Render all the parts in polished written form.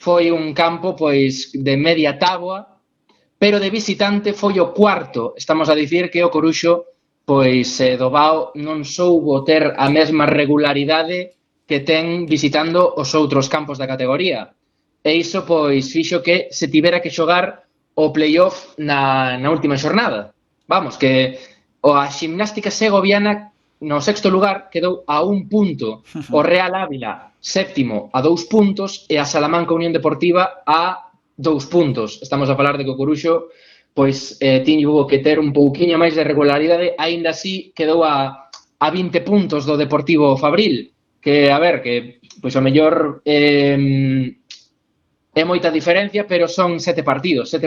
foi un campo pois de media táboa, pero de visitante foi o cuarto. Estamos a dicir que o Coruxo pois do Vao non soubo ter a mesma regularidade que ten visitando os outros campos da categoría. E iso pois fixo que se tivera que xogar o playoff na última xornada. Vamos, que a Ximnástica Segoviana no sexto lugar quedou a un punto, o Real Ávila séptimo a 2 puntos e a Salamanca Unión Deportiva a 2 puntos. Estamos a falar de que o Coruxo pois tiño que ter un pouquiño máis de regularidade, aínda así quedou a 20 puntos do Deportivo Fabril, que a ver, que pois o mellor é moita diferencia, pero son 7 partidos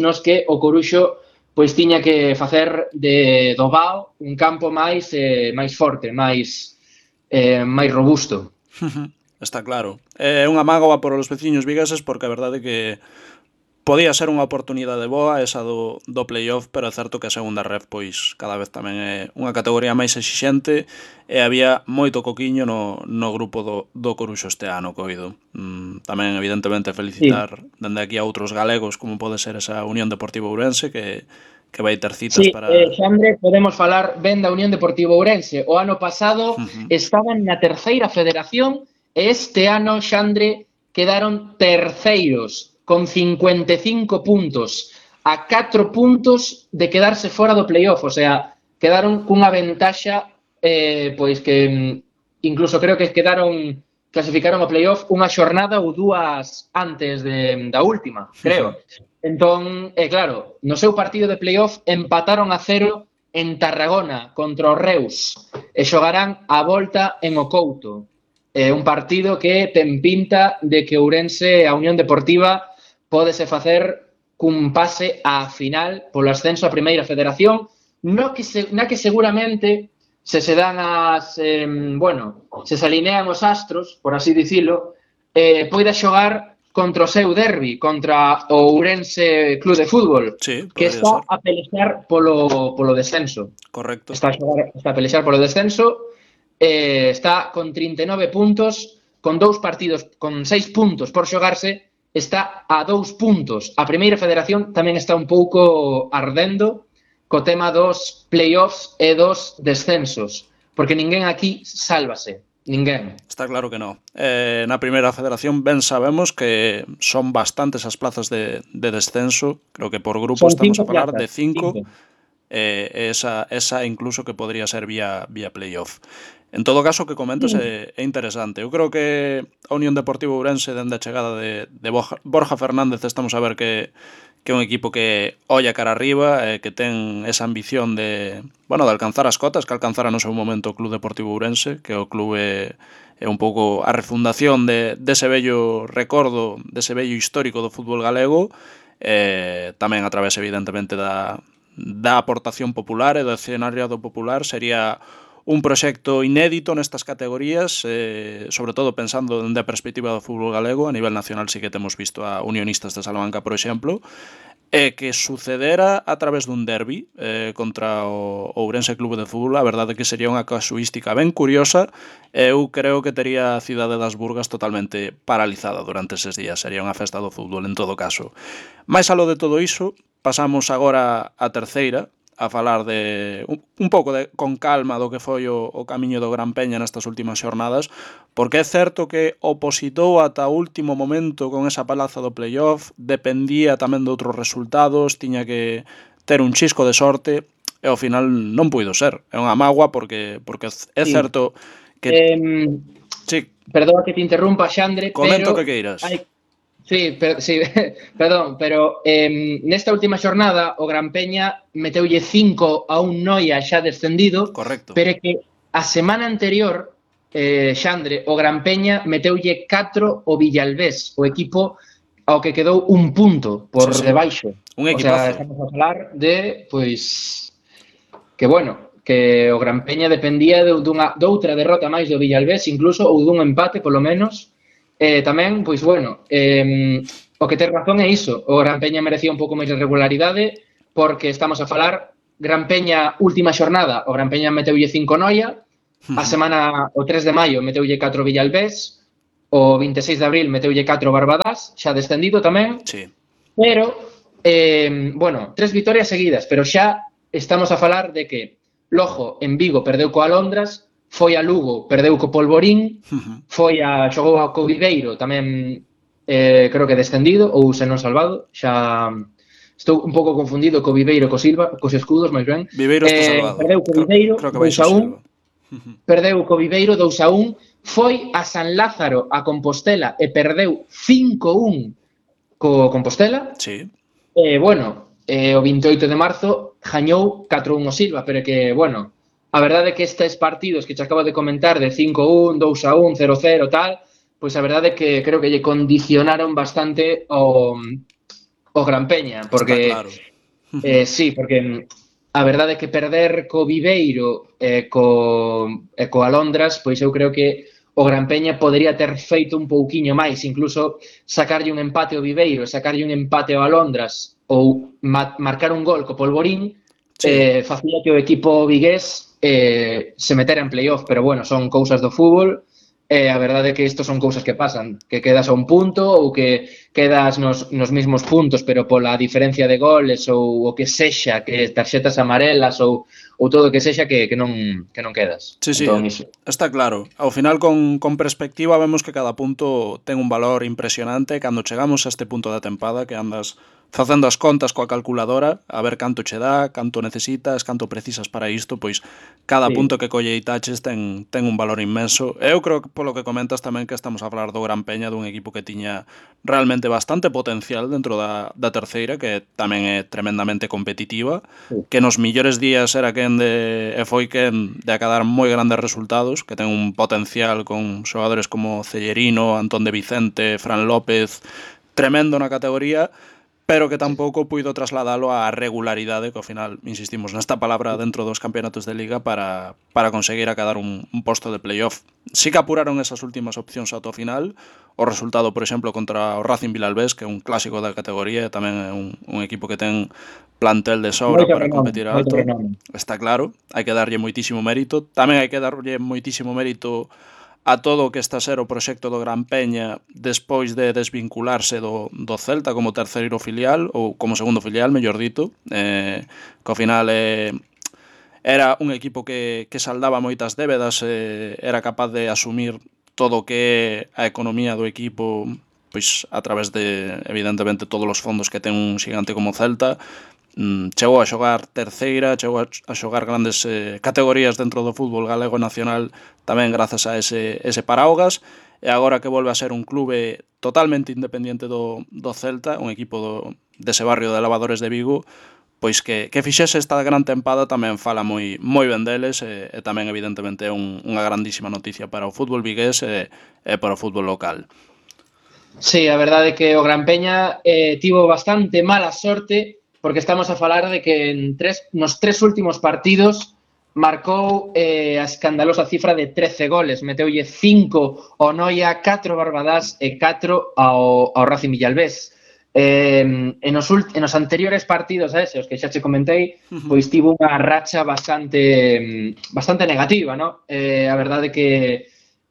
nos que o Coruxo pois tiña que facer do Vao un campo máis forte, máis robusto. Está claro. É unha mágoa por os veciños vigueses porque a verdade é que podía ser unha oportunidade boa esa do playoff, pero é certo que a segunda ref pois cada vez tamén é unha categoría máis exixente e había moito coquiño no grupo do Coruxo este ano, coido. Tamén evidentemente felicitar dende aquí a outros galegos como pode ser esa Unión Deportiva Ourense que vai ter citas para... Xandre, podemos falar ben da Unión Deportiva Ourense. O ano pasado estaban na terceira federación e este ano, Xandre, quedaron terceiros con 55 puntos, a 4 puntos de quedarse fora do playoff, o sea, quedaron cunha ventaxa pois que incluso creo que clasificaron ao playoff unha xornada ou dúas antes da última, creo. Entón, claro, no seu partido de playoff empataron a 0 en Tarragona contra o Reus e xogarán a volta en O Couto. Un partido que ten pinta de que Ourense, a Unión Deportiva, pódese facer cun pase á final polo ascenso a primeira federación, na que seguramente se dan se alinean os astros, por así dicilo, poida xogar contra o seu derbi, contra o Ourense Club de Fútbol, que está a pelexar polo descenso. Correcto. Está a pelexar polo descenso, está con 39 puntos, con 2 partidos, con 6 puntos por xogarse, está a 2 puntos. A primeira federación tamén está un pouco ardendo co tema dos playoffs e dos descensos, porque ninguén aquí sálvase. Ninguén. Está claro que non. Na primeira federación ben sabemos que son bastantes as plazas de descenso. Creo que por grupo son estamos a falar de 5. Esa incluso que podría ser vía playoff. En todo caso, o que comentas é interesante. Eu creo que a Unión Deportiva Ourense, dende a chegada de Borja Fernández, estamos a ver que é un equipo que olla cara arriba, que ten esa ambición de alcanzar as cotas que alcanzara no seu momento o Club Deportivo Ourense, que o club é un pouco a refundación dese bello recordo, dese bello histórico do fútbol galego, tamén a través, evidentemente, da aportación popular e do escenariado popular. Sería un proxecto inédito nestas categorías, sobre todo pensando dende a perspectiva do fútbol galego. A nivel nacional sí que temos visto a Unionistas de Salamanca, por exemplo, que sucedera a través dun derbi contra o Ourense Club de Fútbol. A verdade é que sería unha casuística ben curiosa. Eu creo que tería a cidade das Burgas totalmente paralizada durante eses días. Sería unha festa do fútbol en todo caso. Mais aló de todo iso, pasamos agora a terceira, a falar de un pouco con calma do que foi o camiño do Gran Peña nestas últimas xornadas, porque é certo que opositou ata o último momento con esa palaza do playoff, dependía tamén de outros resultados, tiña que ter un chisco de sorte e ao final non puido ser. É unha mágoa porque é certo que... Perdón que te interrumpa, Xandre, comento que queiras. Perdón, pero nesta última xornada o Gran Peña meteulle 5 a un Noia xa descendido. Correcto. Pero é que a semana anterior, Xandre, o Gran Peña meteulle 4 o Villalbés, o equipo ao que quedou un punto por debaixo. Un equipazo. O sea, estamos a falar de, pois, que o Gran Peña dependía doutra derrota máis do Villalbés, incluso, ou dun empate, polo menos. Tamén, pois, o que ten razón é iso. O Gran Peña merecía un pouco máis de regularidade, porque estamos a falar Gran Peña última xornada, o Gran Peña meteulle 5 Noia, a semana o 3 de maio meteulle 4 Villalbés, o 26 de abril meteulle 4 Barbadás, xa descendido tamén. Sí. Pero, bueno, 3 vitorias seguidas, pero xa estamos a falar de que logo en Vigo perdeu co Alondras, foi a Lugo, perdeu co Polvorín, xogou a Viveiro, tamén creo que descendido, ou se non salvado, xa estou un pouco confundido co Viveiro, co Silva, cos escudos, máis ben. Viveiro está salvado. Perdeu co Viveiro, creo que 2-1. Perdeu co Viveiro 2-1, foi a San Lázaro a Compostela e perdeu 5-1 co Compostela. Sí. Bueno, o 28 de marzo gañou 4-1 o Silva, pero que, bueno, a verdade é que estes partidos que te acabo de comentar de 5-1, 2-1, 0-0, tal, pois a verdade é que creo que lle condicionaron bastante o Gran Peña, porque claro. sí, porque a verdade é que perder co Viveiro e co Alondras, pois eu creo que o Gran Peña podría ter feito un pouquiño máis, incluso sacarlle un empate ao Viveiro, sacarlle un empate ao Alondras ou marcar un gol co Polvorín, facía que o equipo vigués se metera en playoff, pero bueno, son cousas do fútbol. A verdade é que isto son cousas que pasan, que quedas a un punto ou que quedas nos mismos puntos, pero pola diferencia de goles ou o que sexa, que tarxetas amarelas ou todo o que sexa que non quedas. Sí, entón, está claro. Ao final, con perspectiva, vemos que cada punto ten un valor impresionante. Cando chegamos a este punto da tempada, que andas facendo as contas coa calculadora, a ver canto che dá, canto necesitas, canto precisas para isto, pois cada punto que colleitaches ten un valor inmenso. Eu creo que polo que comentas tamén que estamos a falar do Gran Peña, dun equipo que tiña realmente bastante potencial dentro da terceira, que tamén é tremendamente competitiva, que nos millores días era foi quen de acadar moi grandes resultados, que ten un potencial con xogadores como Cellerino, Antón de Vicente, Fran López, tremendo na categoría, pero que tampouco puido trasladalo á regularidade, que ao final, insistimos nesta palabra, dentro dos campeonatos de Liga para conseguir acadar un posto de playoff. Sí que apuraron esas últimas opcións ata o final. O resultado, por exemplo, contra o Racing Vilalbés, que é un clásico da categoría, tamén é un equipo que ten plantel de sobra para competir alto. Está claro, hai que darlle moitísimo mérito. Tamén hai que darlle moitísimo mérito a todo o que está a ser o proxecto do Gran Peña despois de desvincularse do Celta como terceiro filial, ou como segundo filial, mellor dito, que ao final era un equipo que saldaba moitas débedas, era capaz de asumir todo o que é a economía do equipo, pois a través de, evidentemente, todos os fondos que ten un xigante como Celta. Chegou a xogar terceira, chegou a xogar grandes categorías dentro do fútbol galego nacional tamén grazas a ese paraugas, e agora que volve a ser un clube totalmente independiente do Celta, un equipo dese barrio de Lavadores de Vigo, pois que fixese esta gran tempada tamén fala moi ben deles, e tamén evidentemente é unha grandísima noticia para o fútbol vigués e para o fútbol local. Sí, a verdade é que o Gran Peña tivo bastante mala sorte, porque estamos a falar de que nos 3 últimos partidos marcou a escandalosa cifra de 13 goles, meteulle 5 ao Noia, 4 Barbadás e 4 ao Racing Vilalbés. En os anteriores partidos a ese, os que xa che comentei, pois tivo unha racha bastante negativa, ¿no? A verdade é que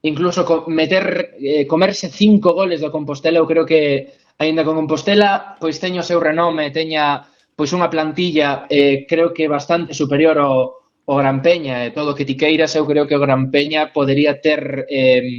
incluso comerse 5 goles do Compostela, eu creo que aínda con Compostela pois teño o seu renome, teña pois unha plantilla creo que bastante superior ao Gran Peña, e todo o que ti queiras, eu creo que o Gran Peña podería ter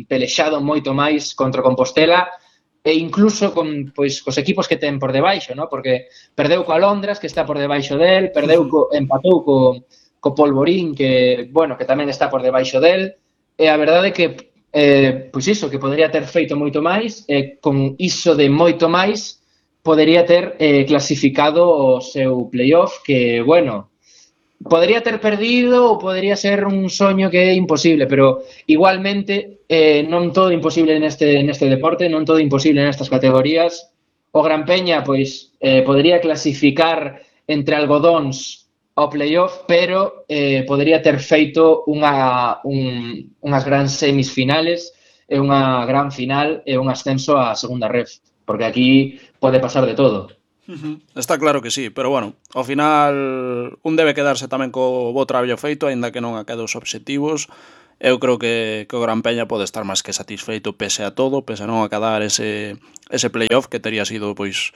pelexado moito máis contra Compostela, e incluso cos equipos que ten por debaixo, ¿no? Porque perdeu co Alondras, que está por debaixo del, empatou co Polvorín, que tamén está por debaixo del, e a verdade é que pois iso, que podería ter feito moito máis, e con iso de moito máis podería ter clasificado o seu playoff, que, podría ter perdido ou podería ser un soño que é imposible, pero igualmente non todo imposible neste deporte, non todo imposible nestas categorías. O Gran Peña pois podería clasificar entre algodóns ao playoff, pero podería ter feito unhas grandes semisfinales e unha gran final e un ascenso á segunda ref, porque aquí pode pasar de todo. Está claro que sí, pero bueno, ao final un debe quedarse tamén co bo traballo feito, aínda que non aquedos obxectivos, eu creo que o Gran Peña pode estar máis que satisfeito pese a todo, pese a non acadar ese playoff que tería sido, pois,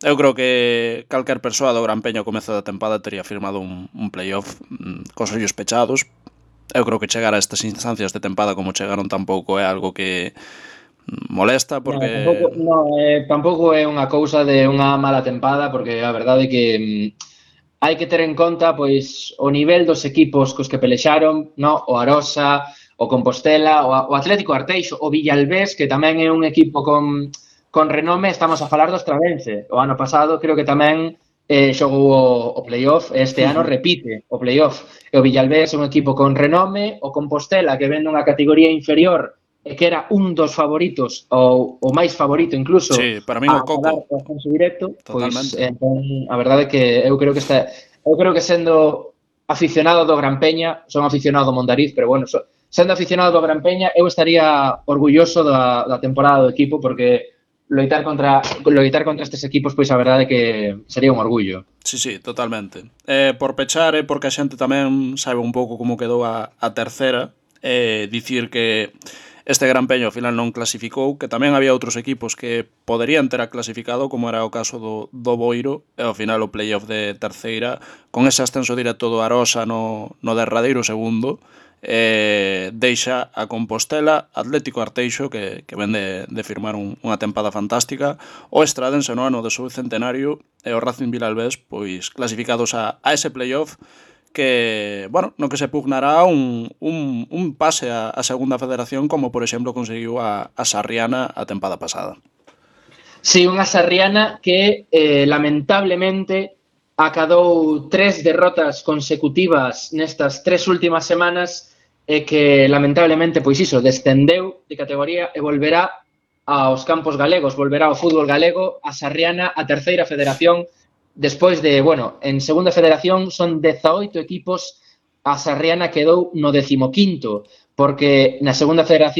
eu creo que calquer persoa do Gran Peña ao comezo da tempada tería firmado un playoff cos ollos pechados. Eu creo que chegar a estas instancias de tempada como chegaron tampouco é algo que molesta, porque... tampouco é unha cousa de unha mala tempada, porque a verdade é que hai que ter en conta pois o nivel dos equipos cos que pelexaron, no? O Arosa, o Compostela, o Atlético Arteixo, o Villalbés, que tamén é un equipo con renome. Estamos a falar do Estradense. O ano pasado creo que tamén xogou o playoff, este ano repite o playoff. E o Villalbés é un equipo con renome, o Compostela, que ven nunha categoría inferior e que era un dos favoritos, ou o máis favorito incluso, sí, para min o Coco, o ascenso directo, pois entón a verdade é que eu creo que sendo aficionado do Gran Peña, son aficionado do Mondariz, pero bueno, sendo aficionado do Gran Peña, eu estaría orgulloso da temporada do equipo, porque loitar contra estes equipos, pois a verdade é que sería un orgullo. Sí, sí, totalmente. Por pechar, porque a xente tamén sabe un pouco como quedou a terceira, dicir que este Gran Peña ao final non clasificou, que tamén había outros equipos que poderían ter clasificado, como era o caso do Boiro, e ao final o playoff de terceira, con ese ascenso directo do Arosa no derradeiro segundo, deixa a Compostela, Atlético Arteixo, que ven de firmar unha tempada fantástica, o Estradense no ano do seu centenario, e o Racing Vilalbés, pois clasificados a ese playoff, que, bueno, no que se pugnará un pase a segunda federación, como por exemplo conseguiu a Sarriana a tempada pasada. Sí, unha Sarriana que lamentablemente acadou 3 derrotas consecutivas nestas 3 últimas semanas e que lamentablemente, pois iso, descendeu de categoría e volverá aos campos galegos, volverá ao fútbol galego, a Sarriana, a terceira federación. Despois de, bueno, en segunda federación son 18 equipos, a Sarriana quedou no 15º, porque na segunda federación